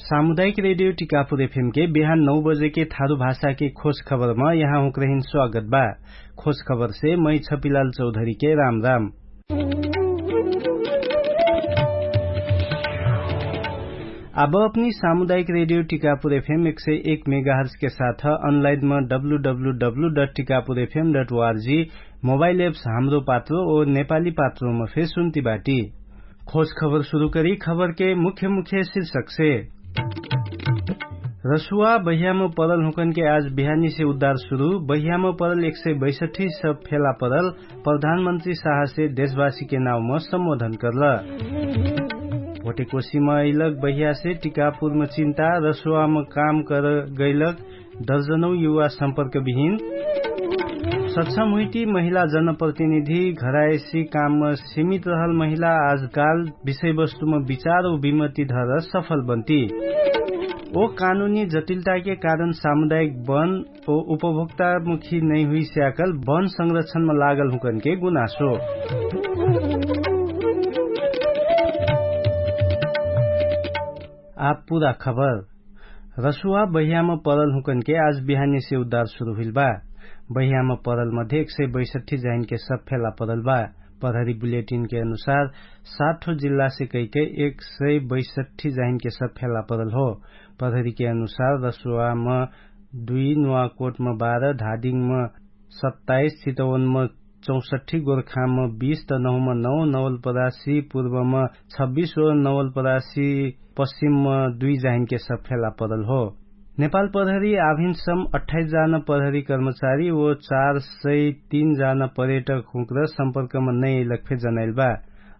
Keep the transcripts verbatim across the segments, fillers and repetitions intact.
सामुदायिक रेडियो टिकापुर एफएम के बिहान नौ बजे के थारु भाषा के खोज खबर म यहाँ हुँक्रहिन स्वागत बा। खोज खबर से मै छपिलाल चौधरी के राम राम। अब अपनी सामुदायिक रेडियो टिकापुर एफएम एक सय एक मेगाहर्स के साथ अनलाइन म W W W dot Tikapur FM dot ORG, mobile apps Hamro Patro ओ नेपाली पात्रो म फेर सुन्ती बाटी। खोज खबर सुरु करी खबर के मुख्य मुख्य शीर्षक से। रसुवा बहियाम परल हुँकन के आज बिहानी से उद्धार सुरु। बहियाम परल एक सय बैसठी सब फेला परल। प्रधानमन्त्री साहसे देशवासी के नाउम सम्बोधन करल। भोटेकोसीम अइलक बहियासे टिकापुरम चिन्ता। रसुवाम काम कर गइलक दर्जनौ युवा सम्पर्क बिहिन। सक्षम हुइटी महिला जनप्रतिनिधि घरायसी कामम सीमित रहल महिला आजकाल विषयवस्तुम विचार उ विमति धर सफल बन्ती। ओ कानुनी जटिलताके कारण सामुदायिक वन ओ उपभोक्तामुखी नैहुइ स्याकल वन संरक्षणम लागल हुँकनके गुनासो। आप पुरा खबर। रसुवा बहियाम परल हुँकनके आज बिहानेसे उद्धार सुरु हुइल बा। बहियाम परल मध्ये एक सय बैसठी जाहिनके सब फेला परल बा। प्रहरी बुलेटिनके अनुसार साठो जिल्लासे कैके एक सय बैसठी जाहिनके सब फेला परल हो। प्रहरीके अनुसार रसुवाम दुई, नुवाकोटम बाह्र, धादिङम सत्ताइस, चितवनमा चौसठी, गोर्खामा बीस, तनहुमा नौ, नवलपरासी पूर्वमा छब्बिस व नवलपरासी पश्चिममा दुई जाहिनके सब फेला परल हो। नेपाल प्रहरी आभिनसम अठाइस जान प्रहरी कर्मचारी व चार सय तीन जान पर्यटक हुँक्र सम्पर्कमा नैलक फे जनाइल बा।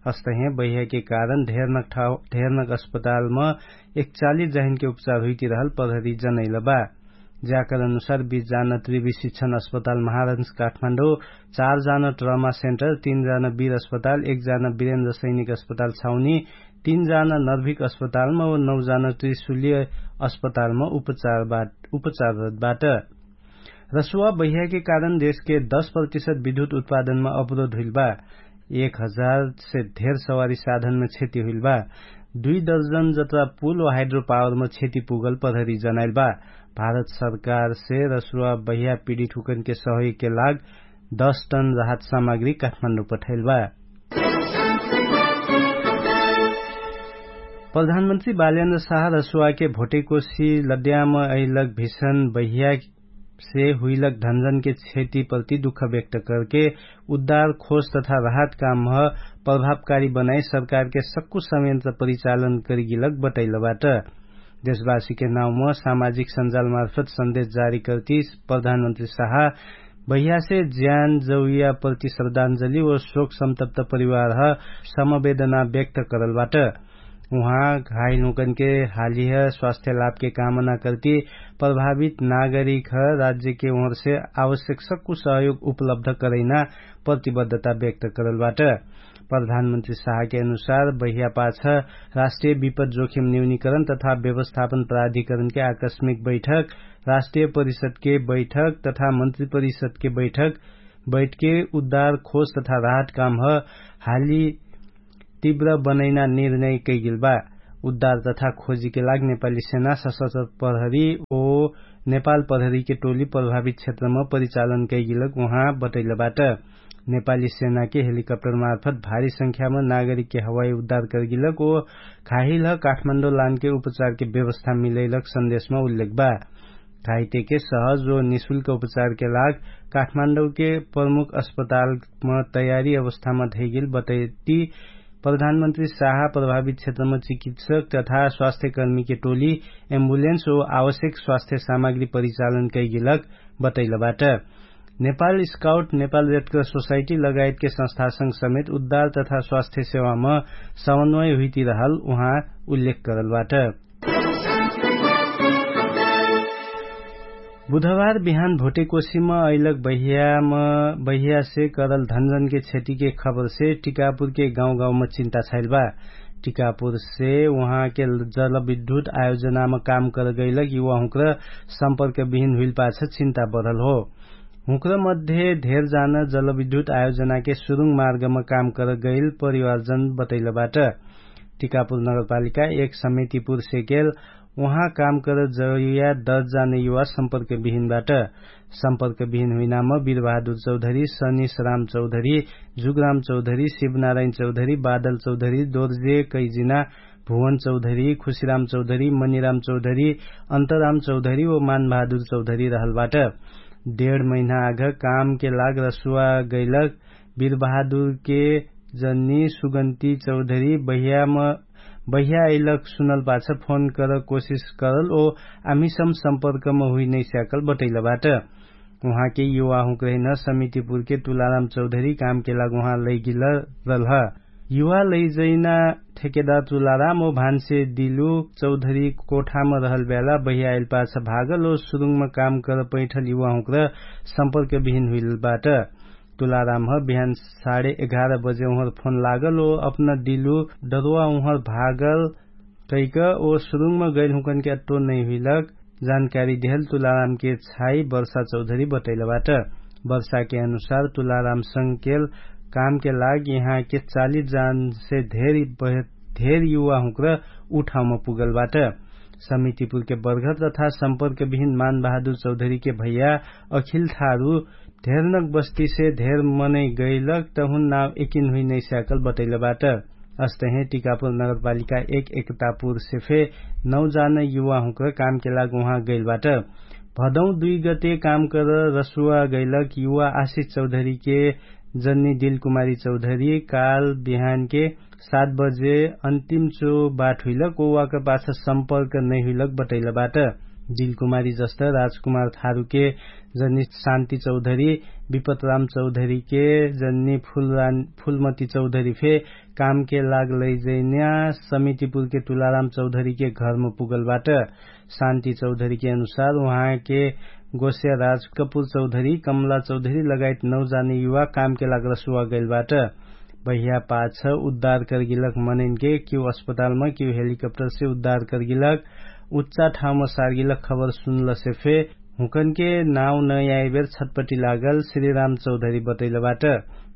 अस्तहे बहियाके कारण ढेरनक अस्पतालमा एकचालिस जाहिनके उपचार हुइतिरहल प्रहरी जनाइल बा। ज्याकर अनुसार बीस जान त्रिवि शिक्षण अस्पताल महारन्स काठमाण्डो, चार जान ट्रमा सेन्टर, तीन जान बीर अस्पताल, एक जान बिरेन्द्र सैनिक अस्पताल छाउनी, तीन जान नर्भिक अस्पतालमा व नौ जान त्रिशुलीय अस्पतालमा उपचारबाट उपचारबाट। रसुवा बहियाके कारण देशके दस प्रतिशत विद्युत उत्पादनमा अवरोध हुइल बा। एक हजार से धेर सवारी साधनमा क्षति हुइल बा। दुई दर्जन जत्रा पुल व हाइड्रोपावरमा क्षति पुगल प्रहरी जनाइल बा। भारत सरकारसे रसुवा बहिया पीडित हुकनके सहयोगके लाग दस टन राहत सामग्री काठमाण्डु पठाइल बा। प्रधानमन्त्री बालेन्द्र साह रसुवाके भोटेकोसी लड्याम अइलक भिषण बहिया से हुइलक धनजनके क्षति प्रति दुःख व्यक्त करके उद्धार खोज तथा राहत कामह प्रभावकारी बनाइ सरकारके सक्कु संयन्त्र परिचालन करिगिलक बटैलबाट। देशवासीके नाउम सामाजिक सञ्जालमार्फत सन्देश जारी कर्ति प्रधानमन्त्री साहा बहियासे ज्यान जौया प्रति श्रद्धान्जली व शोक सम्तप्त परिवारह समवेदना व्यक्त करलबाट। उहाँ घाइलहुँकनके हालिह स्वास्थ्य लाभके कामना कर्ति प्रभावित नागरिकह राज्यके उहरसे आवश्यक सक्कु सहयोग उपलब्ध करैना प्रतिबद्धता व्यक्त करलबाट। प्रधानमन्त्री साहके अनुसार बहिया पाछ राष्ट्रिय विपत जोखिम न्यूनिकरण तथा व्यवस्थापन प्राधिकरणके आकस्मिक बैठक, राष्ट्रिय परिषदके बैठक तथा मन्त्री परिषदके बैठक बैठके उद्धार खोज तथा राहत कामह हाली तीव्र बनैना निर्णय कैगेल बा। उद्धार तथा खोजीके लाग नेपाली सेना सशस्त्र प्रहरी ओ नेपाल प्रहरीके टोली प्रभावित क्षेत्रम परिचालन कैगेलक उहाँ बटैलबाट। नेपाली सेनाके हेलिकप्टरमार्फत भारी संख्याम नागरिकके हवाई उद्धार करगिलक ओ घाहिलह काठमाण्डो लानके उपचारके व्यवस्था मिलैलक सन्देशम उल्लेख बा। घाइतेके सहज ओ निशुल्क उपचारके लाग काठमाण्डौके प्रमुख अस्पतालम तयारी अवस्थाम धैगेल बतैती। प्रधानमन्त्री साहा प्रभावित क्षेत्रम चिकित्सक तथा स्वास्थ्यकर्मीके टोली एम्बुलेन्स ओ आवश्यक स्वास्थ्य सामग्री परिचालन कैगेलक बतैलबाट। नेपाल स्काउट नेपाल रेडक्रस सोसाइटी लगायतके संस्थासँग समेत उद्धार तथा स्वास्थ्य सेवाम समन्वय हुइतिरहल उहाँ उल्लेख करलबाट। बुधबार बिहान भोटेकोसीम अइलक बहियाम बहियासे करल धनजनके क्षतिके खबरसे टिकापुरके गाउँगाउँम चिन्ता छाइल बा। टिकापुरसे उहाँके जलविद्युत आयोजनाम काम करगैलक युवाहुँक्र सम्पर्क बिहिन हुइल पाछ चिन्ता बढल हो। हुँक्र मध्ये धेर जान जलविद्युत आयोजनाके सुरुङ मार्गम काम करगैल परिवारजन बतैलबाट। टिकापुर नगरपालिका एक समेतिपुर सेकेल उहाँ काम कर जरुया दर्जाने युवा सम्पर्क बिहिन बाट। सम्पर्क बिहिन हुइनाम बिरबहादुर चौधरी, सनिस राम चौधरी, जुगराम चौधरी, शिवनारायण चौधरी, बादल चौधरी, दोर्जे कैजिना, भुवन चौधरी, खुशिराम चौधरी, मनिराम चौधरी, अन्तराम चौधरी व मानबहादुर चौधरी रहल बाट। डेढ महिना आघ कामके लाग रसुवा गैलक बिरबहादुरके जन्नी सुगन्ती चौधरी बहिया अइलक सुनल पाछ फोन कर कोसिस करल ओ आमिसम सम्पर्कम हुइ नैस्याकल बटैल बाट। उहाँके युवा हुँक्रहिन समितिपुरके तुलाराम चौधरी कामके लाग उहाँ लैगिल रलह। युवा लैजैना ठेकेदार तुलाराम ओ भान्से दिलु चौधरी कोठाम रहल ब्याला बहिया आइल पाछ भागल ओ सुरुङम काम कर पैठल युवा हुँक्र सम्पर्क बिहिन हुइल बाट। तुलारामह बिहान साढे एघार बजे उहर फोन लागल ओ अपना दिलु डरुवा उहर भागल कैक ओ सुरुङम गैल हुँकनके अट्टो नैहुइलक जानकारी देहल तुलारामके छाई वर्षा चौधरी बटैल बाट। वर्षाके अनुसार तुलाराम संगकेल कामके लाग यहाँके चालिस जानसे धेर युवा हुँक्र उ ठाउँम पुगल बाट। समितिपुरके बर्घर तथा सम्पर्क बिहिन मानबहादुर चौधरीके भैया अखिल थारु धेरनक बस्तीसे धेर मनै गैलक तहुन नाउ एकिन हुइ नैस्याकल बटैल बाट। अस्तहे टिकापुर नगरपालिका एक एकतापुरसे फे नौ जान युवा हुँक्र कामके लाग उहाँ गैल बाट। भदौ दुइ गते काम कर रसुवा गैलक युवा आशिष चौधरीके जन्नी दिलकुमारी चौधरी काल बिहानके सात बजे अन्तिम चो बाट हुइलक ओ वाकर पाछ सम्पर्क नैहुइलक बटैल बाट। दिलकुमारी जस्त राजकुमार थारुके जन्नी शान्ति चौधरी विपतराम चौधरीके जन्नी फुलमती चौधरी फे कामके लाग लैजैन्या समितिपुरके तुलाराम चौधरीके घरम पुगल बाट। शान्ति चौधरीके अनुसार उहाँके गोस्या राजकपुर चौधरी कमला चौधरी लगायत नौ जाने युवा कामके लाग रसुवा गैल बाट। बहिया पाछ उद्धार करगिलक मनैनके किउ अस्पतालम किउ हेलिकप्टरसे उद्धार करगिलक उच्चा ठाउँम सारगिलक खबर सुनलसे फे हुँकनके नाउ नयाइबेर छटपटी लागल श्रीराम चौधरी बटैल बाट।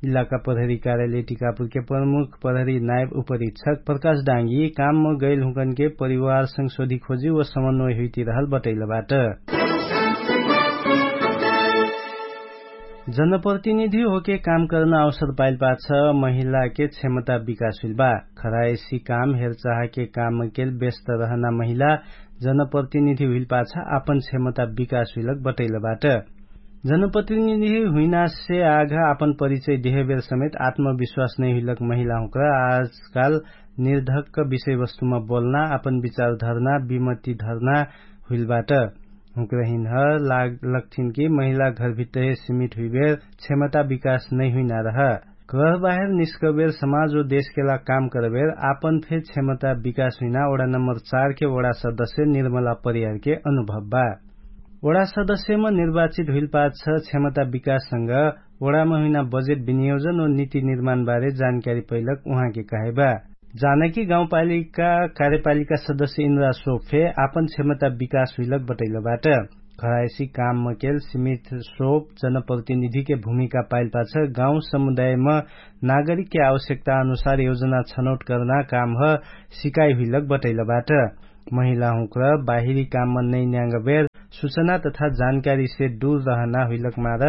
इलाका प्रहरी कार्यालय टिकापुरके प्रमुख प्रहरी नायब उपरीक्षक प्रकाश डाँगी कामम गैल हुँकनके परिवारसँग सोधिखोजी व समन्वय हुइतिरहल बटैल बाट। जनप्रतिनिधि होके काम कर्ना अवसर पाइल पाछ महिलाके क्षमता विकास हुइल बा। खरायसी काम हेरचाहके कामकेल व्यस्त रहना महिला जनप्रतिनिधि हुइल पाछ आपन क्षमता विकास हुइलक बटैल बाट। जनप्रतिनिधि हुइनासे आघ आपन परिचय देहेबेर समेत आत्मविश्वास नैहुइलक महिला हुँक्र आजकाल निर्धक्क विषयवस्तुमा बोल्ना आपन विचार धर्ना विमति धर्ना हुइल बाट। हुँक्रहिनह लक्ठिन कि महिला घरभित्तहे सिमित हुइबेर क्षमता विकास नैहुइना रह। घरबाहेर निस्कबेर समाज ओ देशके लाग काम करबेर आपन फे क्षमता विकास हुइना ओडा नम्बर चारके ओडा सदस्य निर्मला परियारके अनुभव बा। ओडा सदस्यम निर्वाचित हुइल पाछ क्षमता विकाससँग ओडाम हुइना बजेट विनियोजन ओ निति निर्माणबारे जानकारी पैलक उहाँके कहे बा। जानकी गाउँपालिका कार्यपालिका सदस्य इन्द्रा सोफे आपन क्षमता विकास हुइलक बटैल बाट। घरायसी काममकेल सिमित सोफ जनप्रतिनिधिके भूमिका पाइल पाछ गाउँ समुदायम नागरिकके आवश्यकता अनुसार योजना छनौट कर्ना कामह सिकाइ हुइलक बटैल बाट। महिलाहुँक्र बाहिरी कामम नैन्याङ्गबेर सुचना तथा जानकारीसे दुर रहना हुइलक मार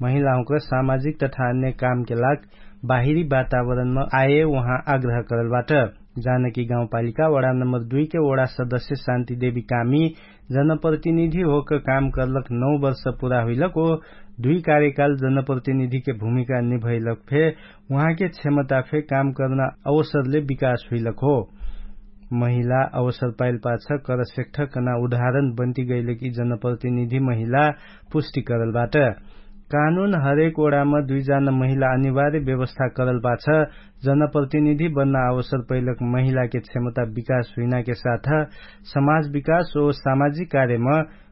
महिलाहुँक्र सामाजिक तथा अन्य कामके लाग बाहिरी वातावरणम आए उहाँ आग्रह करल बाट। जानकी गाउँपालिका वडा नम्बर दुइके वडा सदस्य शान्तिदेवी कामी जनप्रतिनिधि होक काम कर्लक नौ वर्ष पुरा हुइलक ओ दुइ कार्यकाल जनप्रतिनिधिके भूमिका निभैलक फे उहाँके क्षमता फे काम कर्ना अवसरले विकास हुइलक हो। महिला अवसर पाइल पाछ करसेक्ठ कना उदाहरण बन्ति गैलक यि जनप्रतिनिधि महिला पुष्टि करल बाट। कानुन हरेक ओडाम दुइ जान महिला अनिवार्य व्यवस्था करल पाछ जनप्रतिनिधि बन्ना अवसर पैलक महिलाके क्षमता विकास हुइनाके साथ समाज विकास ओ सामाजिक कार्यम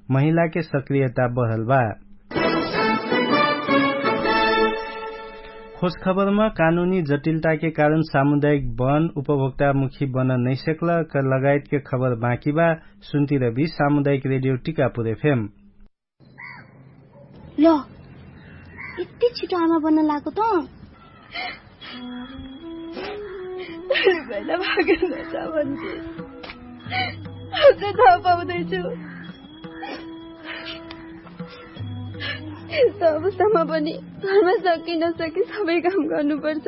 महिलाके सक्रियता बढल बा। खोजखबरम कानुनी जटिलताके कारण सामुदायिक बन उपभोक्तामुखी बन नैसेक्ल लगायतके खबर बाँकी बा। सुन्तिरबी सामुदायिक रेडियो टिकापुर एफएम। ल, यति छिटो आमा बन्न लागो त? पहिला भागेन त भन्थे। त थाहा पाउँदैछु। यस्तो अवस्थामा पनि घरमा सकि नसकि सबै काम गर्नुपर्छ।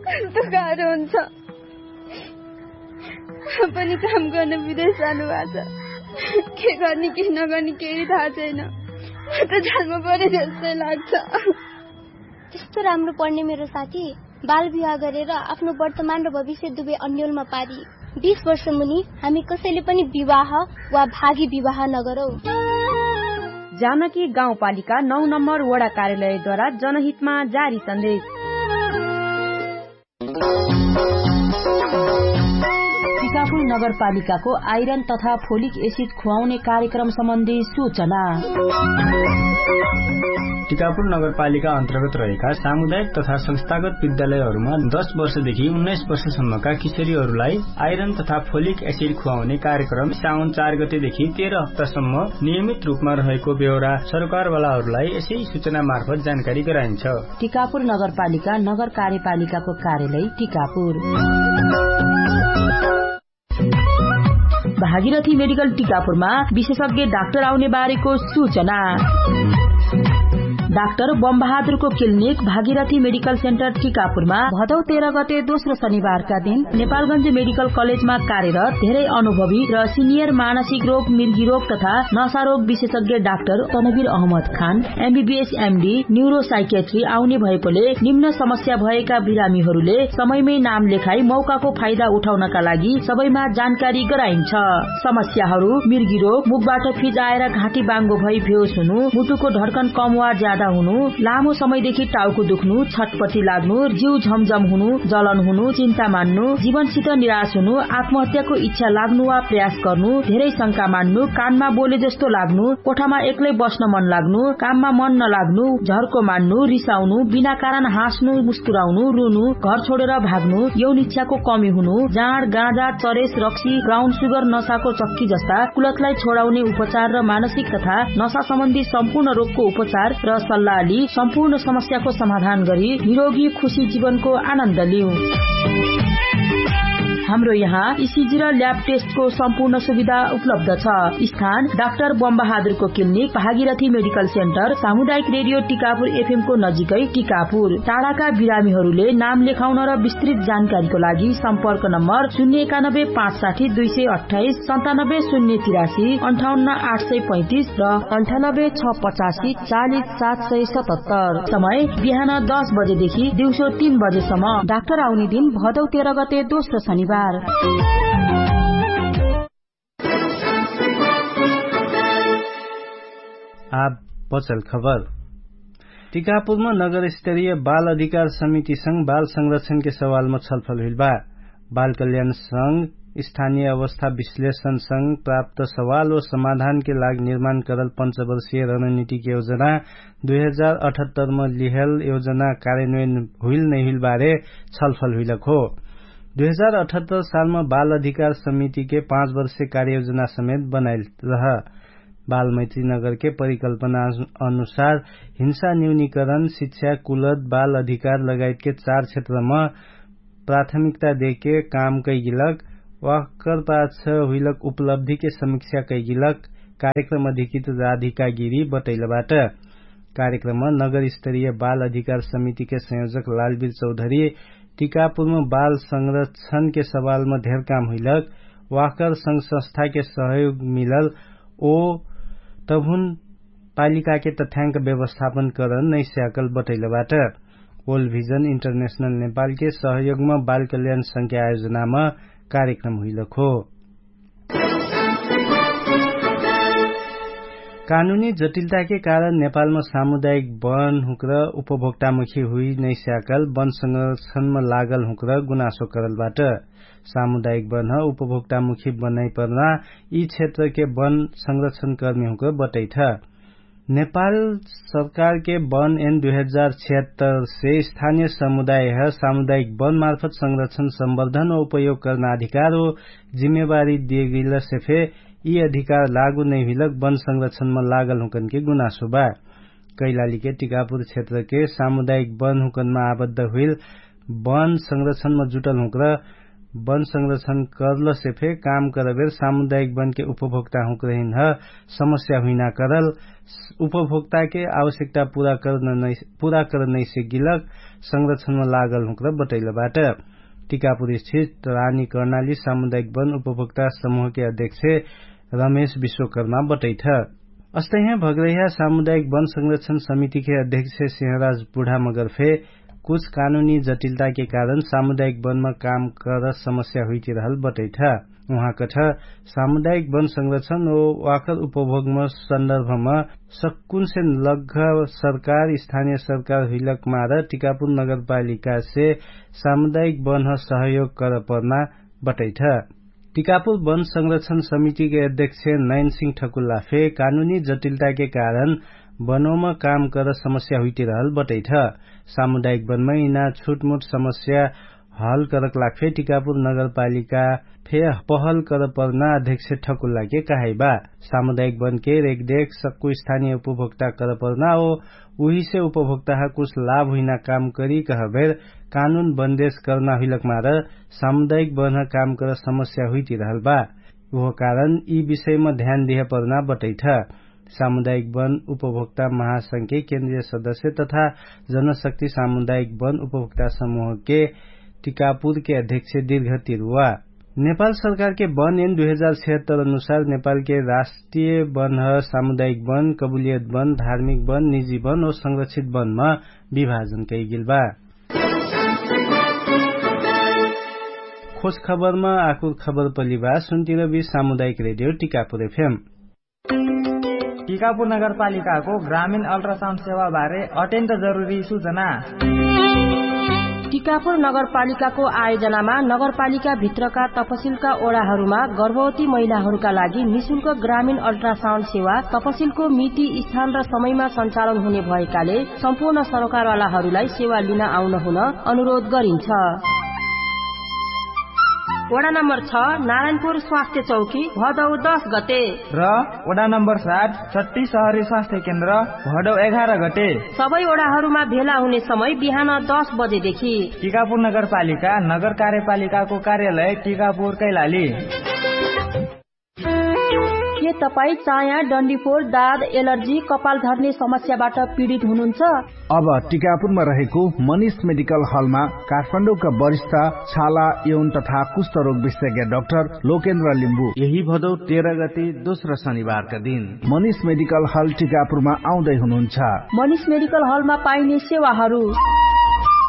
कस्तो गाह्रो हुन्छ। पनि काम गर्न विदेश जानुभएको छ। के गर्ने के नगर्ने केही थाहा छैन। म त जानमा परे जस्तै लाग्छ। त्यस्तो राम्रो पढ्ने मेरो साथी बाल विवाह गरेर आफ्नो वर्तमान र भविष्य दुवै अन्यलमा पारी। बिस वर्ष मुनि हामी कसैले पनि विवाह वा भागी विवाह नगरौँ। जानकी गाउँपालिका नौ नम्बर वडा कार्यालयद्वारा जनहितमा जारी सन्देश। टिकापुर नगरपालिकाको आइरन तथा फोलिक एसिड खुवाउने कार्यक्रम सम्बन्धी सूचना। टिकापुर नगरपालिका अन्तर्गत रहेका सामुदायिक तथा संस्थागत विद्यालयहरूमा दस वर्षदेखि उन्नाइस वर्षसम्मका किशोरीहरूलाई आइरन तथा फोलिक एसिड खुवाउने कार्यक्रम साउन चार गतेदेखि तेह्र हप्तासम्म नियमित रूपमा रहेको बेहोरा सरकारवालाहरूलाई यसै सूचना मार्फत जानकारी गराइन्छ। टिकापुर नगरपालिका नगर कार्यपालिकाको कार्यालय टिकापुर। भागीरथी मेडिकल टिकापुरमा विशेषज्ञ डाक्टर आउने बारेको सूचना। डाक्टर बमबहादुरको क्लिनिक भागीरथी मेडिकल सेन्टर टिकापुरमा भदौ तेह्र गते दोस्रो शनिबारका दिन नेपालगञ्ज मेडिकल कलेजमा कार्यरत धेरै अनुभवी र सिनियर मानसिक रोग, मिर्गी रोग तथा नशा रोग विशेषज्ञ डाक्टर तनवीर अहमद खान एमबीबीएस एमडी न्युरोसाइकेट्री आउने भएकोले निम्न समस्या भएका बिरामीहरूले समयमै नाम लेखाई मौकाको फाइदा उठाउनका लागि सबैमा जानकारी गराइन्छ। समस्याहरू मिर्गी रोग, मुखबाट फिजाएर घाँटी बाङ्गो भई भेउस हुनु, मुटुको ढड्कन कम वा ज्यादा हुनु, लामो समयदेखि टाउको दुख्नु, छटपटी लाग्नु, जिउ झमझम हुनु, जलन हुनु, चिन्ता मान्नु, जीवनसित निराश हुनु, आत्महत्याको इच्छा लाग्नु वा प्रयास गर्नु, धेरै शंका मान्नु, कानमा बोले जस्तो लाग्नु, कोठामा एक्लै बस्न मन लाग्नु, काममा मन नलाग्नु, झर्को मान्नु, रिसाउनु, बिना कारण हाँस्नु, मुस्कुराउनु, रुनु, घर छोडेर भाग्नु, यौन इच्छाको कमी हुनु, जाँड, गाँजा, चरेस, रक्सी, ब्राउन सुगर, नशाको चक्की जस्ता कुलतलाई छोडाउने उपचार र मानसिक तथा नशा सम्बन्धी सम्पूर्ण रोगको उपचार र सल्लाह लि सम्पूर्ण समस्याको समाधान गरी निरोगी खुशी जीवनको आनन्द लिउ। हाम्रो यहाँ इसिजी र ल्याब टेस्टको सम्पूर्ण सुविधा उपलब्ध छ। स्थान डाक्टर बमबहादुरको क्लिनिक, भागीरथी मेडिकल सेन्टर, सामुदायिक रेडियो टिकापुर एफएमको नजिकै टिकापुर। टाढाका बिरामीहरूले नाम लेखाउन र विस्तृत जानकारीको लागि सम्पर्क नम्बर शून्य एकानब्बे पाँच साठी दुई सय अट्ठाइस, सन्तानब्बे शून्य तिरासी, अन्ठाउन्न आठ सय पैँतिस र अन्ठानब्बे छ पचासी चालिस सात सय सतहत्तर। समय बिहान दस बजेदेखि दिउँसो तीन बजेसम्म। डाक्टर आउने दिन भदौ तेह्र गते दोस्रो शनिबार। आब बचल खबर। टिकापुरमा नगरस्तरीय बाल अधिकार समितिसँग बाल संरक्षणके सवालमा छलफल हुइल बा। बाल कल्याणसँग स्थानीय अवस्था विश्लेषणसँग प्राप्त सवाल व समाधानके लाग निर्माण करल पञ्चवर्षीय रणनीतिक योजना दुई हजार अठहत्तरमा लिहल योजना कार्यान्वयन हुइल नैहुइल बारे छलफल हुइलक हो। दुई हजार अठहत्तर सालमा बाल अधिकार समितिके पाँच वर्षे कार्ययोजना समेत बनाइल रह। बालमैत्री नगरके परिकल्पना अनुसार हिंसा न्यूनीकरण, शिक्षा, कुलत, बाल अधिकार लगायतके चार क्षेत्रमा प्राथमिकता देके काम कैगिलक वाहकर पाछ हुइलक उपलब्धिके समीक्षा कैगिलक कार्यक्रम अधिकृत राधिका गिरी बटैलबाट। कार्यक्रममा नगरस्तरीय बाल अधिकार समितिके संयोजक लालवीर चौधरी टिकापुरमा बाल संरक्षणके सवालमा धेर काम हुइलक वाहकर संघ संस्थाके सहयोग मिलल ओ तभुन पालिकाके तथ्याङ्क व्यवस्थापन करन नैस्याकल बटैलबाट। वल्ड भिजन इन्टरनेशनल नेपालके सहयोगमा बाल कल्याण संख्या आयोजनामा कार्यक्रम हुइलक हो। कानुनी जटिलताके कारण नेपालमा सामुदायिक वन हुँक्र उपभोक्तामुखी हुइ नैस्याकल वन संरक्षणमा लागल हुँक्र गुनासो करलबाट। सामुदायिक वन उपभोक्तामुखी बनाइपर्ना यि क्षेत्रके वन संरक्षणकर्मी हुँक्र बटैठ। नेपाल सरकारके वन एन दुई हजार छिहत्तर से स्थानीय समुदायह सामुदायिक वन मार्फत संरक्षण सम्वर्धन व उपयोग कर्ना अधिकार हो। जिम्मेवारी दिएगिलसे फे यि अधिकार लागु नैहुइलक वन संरक्षणमा लागल हुँकनके गुनासो बा। कैलालीके टिकापुर क्षेत्रके सामुदायिक वन हुँकनमा आबद्ध हुइल वन संरक्षणमा जुटल हुँक्र वन संरक्षण कर्लसे फे काम करबेर सामुदायिक वनके उपभोक्ता हुँक रहिन्ह समस्या हुइना करल उपभोक्ताके आवश्यकता पूरा करनैसे गिलक संरक्षणमा लागल हुँकर बटैलबाट। टिकापुर स्थित रानी कर्णाली सामुदायिक वन उपभोक्ता समूहके अध्यक्ष रमेश विश्वकर्मा बटैठ। अस्तैहे भगरैहा सामुदायिक वन संरक्षण समितिके अध्यक्ष सेहराज बुढामगर फे कुछ कानुनी जटिलताके कारण सामुदायिक वनमा काम कर समस्या हुइतिरहल बटैठ। उहाँकठ सामुदायिक वन संरक्षण ओ वाकर उपभोगम सन्दर्भम सक्कुनसे लग्घ सरकार स्थानिय सरकार हुइलक मार टिकापुर नगरपालिकासे सामुदायिक वनह सहयोग करपर्ना बटैठ। टिकापुर वन संरक्षण समितिके अध्यक्ष नैनसिंह ठकुल्ला फे कानुनी जटिलताके कारण वनोम काम कर समस्या हुइतिरहल बटैठ। सामुदायिक वनमै इना छुटमुट समस्या हल करक लाग फे टिकापुर नगरपालिका फे पहल करपर्ना अध्यक्ष ठकुल्लाके कहाइबा। सामुदायिक वनके रेखदेख सक्कु स्थानिय उपभोक्ता करपर्ना ओ उहिसे उपभोक्ताह कुछ लाभ हुइना काम करी कहबेर कानुन बन्देश कर्ना हुइलक मार सामुदायिक बन्ह काम कर समस्या हुइतिरहल बा। उहो कारण यि विषयम ध्यान दिह पर्ना बटैठ। सामुदायिक वन उपभोक्ता महासंघके केन्द्रिय सदस्य तथा जनशक्ति सामुदायिक वन उपभोक्ता समूहके टिकापुरके अध्यक्ष दीर्घ तिरुवा नेपाल सरकारके वन एन दुई हजार छेहत्तर अनुसार नेपालके राष्ट्रिय वनह सामुदायिक वन कबुलियत वन धार्मिक वन निजी वन ओ संरक्षित वनमा विभाजन कैगेल बा। खोज खबरमा आकुर खबर पलिबा सुन्तिरबी सामुदायिक रेडियो टिकापुर एफएम। टिकापुर नगरपालिकाको ग्रामीण अल्ट्रासाउन्ड सेवाबारे अत्यन्त जरुरी सुचना। टिकापुर नगरपालिकाको आयोजनामा नगरपालिकाभित्रका तपसिलका ओडाहरूमा गर्भवती महिलाहरूका लागि निशुल्क ग्रामीण अल्ट्रासाउन्ड सेवा तपसिलको मिति स्थान र समयमा सञ्चालन हुने भएकाले सम्पूर्ण सरकारवालाहरूलाई सेवा लिन आउन हुन अनुरोध गरिन्छ। वडा नम्बर छ, नारायणपुर स्वास्थ्य चौकी भदौ दस गते। र वडा नम्बर सात, छट्टी सहरी स्वास्थ्य केन्द्र भदौ एघार गते। सबै वडाहरूमा भेला हुने समय बिहान दस बजेदेखि। टिकापुर नगरपालिका नगर कार्यपालिकाको कार्यालय टिकापुर कैलाली। के तपाईँ चाया डन्डीफोर दाद एलर्जी कपाल झर्ने समस्याबाट पीडित हुनुहुन्छ? अब टिकापुरमा रहेको मनिष मेडिकल हलमा काठमाडौँका वरिष्ठ छाला यौन तथा कुष्ठरोग विशेषज्ञ डाक्टर लोकेन्द्र लिम्बु यही भदौ तेह्र गते दोस्रो शनिबारका दिन मनिष मेडिकल हल टिकापुरमा आउँदै हुनुहुन्छ। मनिष मेडिकल हलमा पाइने सेवाहरू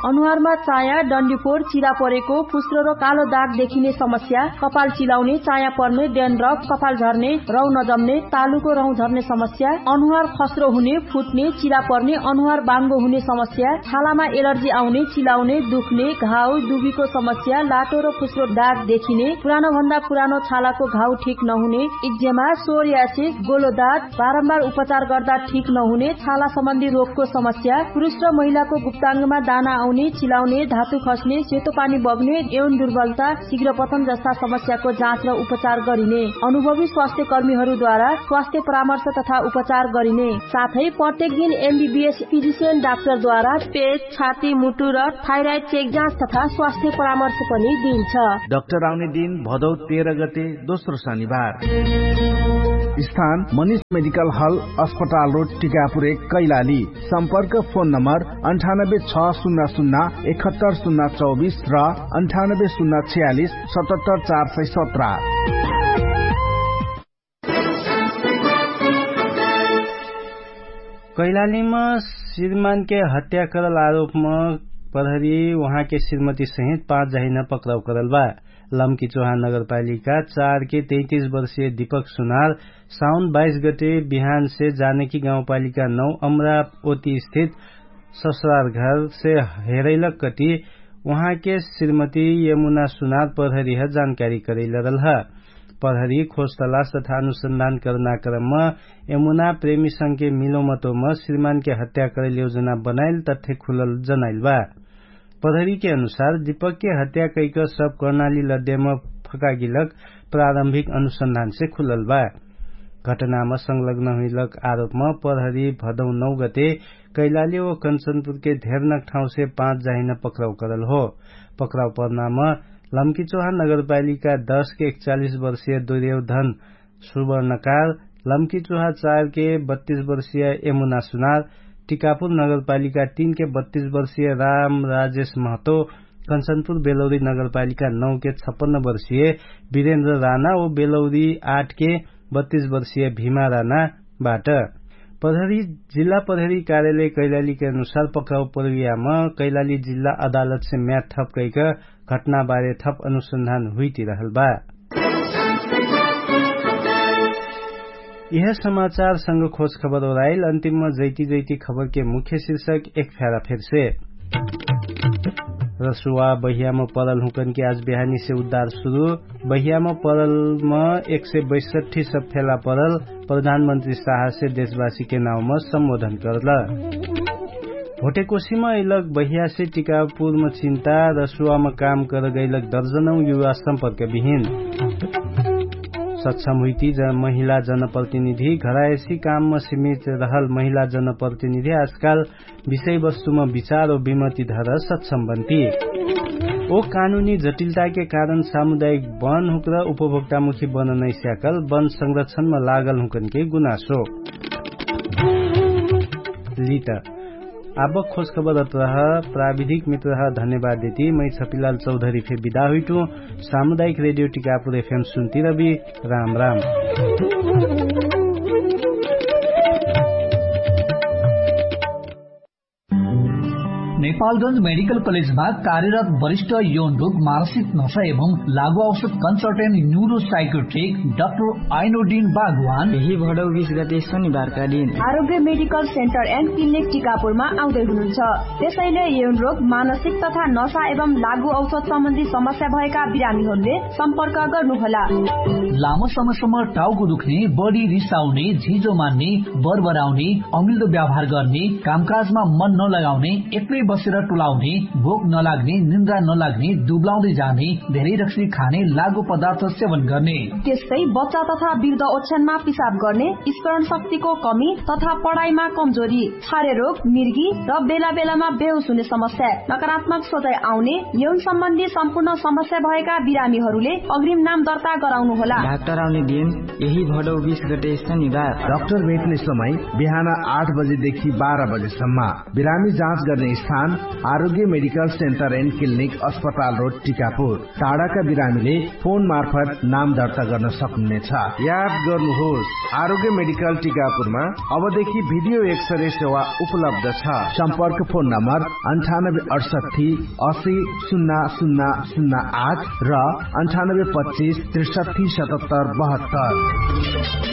अनुहारमा चाया डन्डीफोर चिरा परेको फुस्रो र कालो दाग देखिने समस्या, कपाल चिलाउने, चाया पर्ने, डेन्ड्रफ, कपाल झर्ने, रौ नजम्ने, तालुको रौ झर्ने समस्या, अनुहार खस्रो हुने, फुट्ने, चिरा पर्ने, अनुहार बाङ्गो हुने समस्या, छालामा एलर्जी आउने, चिलाउने, दुख्ने, घाउ दुबीको समस्या, लाटो र फुस्रो दाग देखिने, पुरानो भन्दा पुरानो छालाको घाउ ठिक नहुने, इक्जेमा, सोरियासिस, गोलोदात, बारम्बार उपचार गर्दा ठिक नहुने छाला सम्बन्धी रोगको समस्या, पुरुष र महिलाको गुप्ताङ्गमा दाना आउने, चिलाउने, धातु खस्ने, सेतो पानी बग्ने, यौन दुर्बलता, शीघ्र पतन जस्ता समस्याको जाँच र उपचार गरिने, अनुभवी स्वास्थ्य कर्मीहरूद्वारा स्वास्थ्य परामर्श तथा उपचार गरिने, साथै प्रत्येक दिन एमबीबीएस फिजिसियन डाक्टरद्वारा पेट, छाती, मुटु र थाइराइड चेक जाँच तथा स्वास्थ्य परामर्श पनि दिइन्छ। डाक्टर आउने दिन भदौ तेह्र गते दोस्रो शनिबार। स्थान मनिष मेडिकल हल, अस्पताल रोड, टिकापुर एक, कैलाली। सम्पर्क फोन नम्बर अन्ठानब्बे छ शून्य शून्य एकहत्तर शून्य चौबिस र अन्ठानब्बे शून्य छयालिस सतहत्तर चार सय सत्र। कैलालीमा श्रीमानके हत्या करल आरोपमा प्रहरी उहाँके श्रीमती सहित पाँच जाहिना पक्राउ करल बा। लम्की चोहा नगरपालिका चारके तैतिस वर्षीय दीपक सुनार साउन बाइस गते बिहानसे जानकी गाउँपालिका नौ अमरावती स्थित ससुरार घरसे हेरैलक कति उहाँके श्रीमती यमुना सुनार प्रहरीह जानकारी करैलरल ह। प्रहरी खोजतलास तथा अनुसन्धान करनाक्रमम यमुना प्रेमीसँगके मिलोमतोम श्रीमानके हत्या करैल योजना बनाइल तथ्य खुलल जनाइल बा। प्रहरीके अनुसार दीपकके हत्या कैक सब कर्णाली लद्यम फकागिलक प्रारम्भिक अनुसन्धानसे खुलल बा। घटनाम संलग्न हुइलक आरोपम प्रहरी भदौ नौ गते कैलाली व कन्चनपुरके धेरनक ठाउँसे पाँच जाहिन पक्राउ करल हो। पक्राउ पर्नाम लम्कीचोहा नगरपालिका दस के एकचालिस वर्षीय दुर्योधन सुवर्णकार, लम्कीचोहा चार के बत्तीस वर्षीय यमुना सुनार, टिकापुर नगरपालिका तीन के बत्तीस वर्षीय राम राजेश महतो, कन्सनपुर बेलौरी नगरपालिका नौ के छप्पन्न वर्षीय बिरेन्द्र राना ओ बेलौरी आठ के बत्तीस वर्षीय भिमा राना बाट। प्रहरी, जिल्ला प्रहरी कार्यालय कैलाली के अनुसार पक्राउ प्रवियामा कैलाली जिल्ला अदालत से म्याद थप कैक घटना बारे थप अनुसन्धान हुइतिरहल बा। यह समाचार संग खोज खबर ओराइल। अन्तिममा जैती जैती खबर के मुख्य शीर्षक एक फ्यारा फेर से। रसुवा बहियामा परल हुँकन के आज बिहानी से उद्धार सुरु। बहियामा परलमा एक सय बैसठी सब फेला परल। प्रधानमन्त्री साहसे देशवासीके नाउँमा सम्बोधन करल। भोटेकोसीमा अइलक बहियासे टिकापुरमा चिन्ता रसुवामा काम करगैलक दर्जनौ युवा सम्पर्क बिहिन। सक्षम हुइती महिला जनप्रतिनिधि घरायसी काममा सिमित रहल महिला जनप्रतिनिधि आजकाल विषयवस्तुमा विचार ओ विमति धर सक्षम बन्ती। ओ कानुनी जटिलताके कारण सामुदायिक वन हुक्र उपभोक्तामुखी वन नैस्याकल वन संरक्षणमा लागल हुँकनके गुनासो। लित आबक खोजखबर अत्रह। प्राविधिक मित्रह धन्यवाद देती मै छपिलाल चौधरी फे विदा हुइटु। सामुदायिक रेडियो टिकापुर एफएम सुन्ती रबी। राम राम। नेपालगंज मेडिकल कलेजमा कार्यरत वरिष्ठ यौन रोग मानसिक नशा एवं लागु औषध कन्सल्टेन्ट न्युरो साइकोट्रिक डाक्टर आइनोडिन बागवान यही भडौ बिस गते शनिबारका दिन आरोग्य मेडिकल सेन्टर एन्ड क्लिनिक टिकापुरमा आउँदै हुनुहुन्छ। त्यसैले यौन रोग मानसिक तथा नशा एवं लागु औषध सम्बन्धी समस्या भएका बिरामीहरूले सम्पर्क गर्नुहोला। लामो समयसम्म टाउको दुख्ने, बढी रिसाउने, झिजो मान्ने, बरबराउने, अमिल्दो व्यवहार गर्ने, कामकाजमा मन नलगाउने, एक्लै बसेर टोलाउने, भोक नलाग्ने, निन्द्रा नलाग्ने, दुब्लाउँदै जाने, धेरै रक्सी खाने, लागु पदार्थ सेवन गर्ने। त्यस्तै बच्चा तथा वृद्ध ओछ्यानमा पिसाब गर्ने, स्मरण शक्तिको कमी तथा पढाइमा कमजोरी, छारे रोग, मिर्गी र बेला बेलामा बेहोस हुने समस्या, नकारात्मक सोचाइ आउने, यौन सम्बन्धी सम्पूर्ण समस्या भएका बिरामीहरूले अग्रिम नाम दर्ता गराउनु होला। डाक्टर आउने दिन यही भडौ बिस गते शनिबार। डाक्टर भेट्ने समय बिहान आठ बजेदेखि बाह्र बजेसम्म। बिरामी जाँच गर्ने स्थान आरोग्य मेडिकल सेन्टर एन्ड क्लिनिक अस्पताल रोड टिकापुर। टाढाका बिरामीले फोन मार्फत नाम दर्ता गर्न सक्नुहुनेछ। याद गर्नुहोस्, आरोग्य मेडिकल टिकापुरमा अबदेखि भिडियो एक्सरे सेवा उपलब्ध छ। सम्पर्क फोन नम्बर अन्ठानब्बे अठसट्ठी असी शून्य शून्य शून्य आठ र अन्ठानब्बे पच्चिस त्रिसट्ठी सतहत्तर बहत्तर।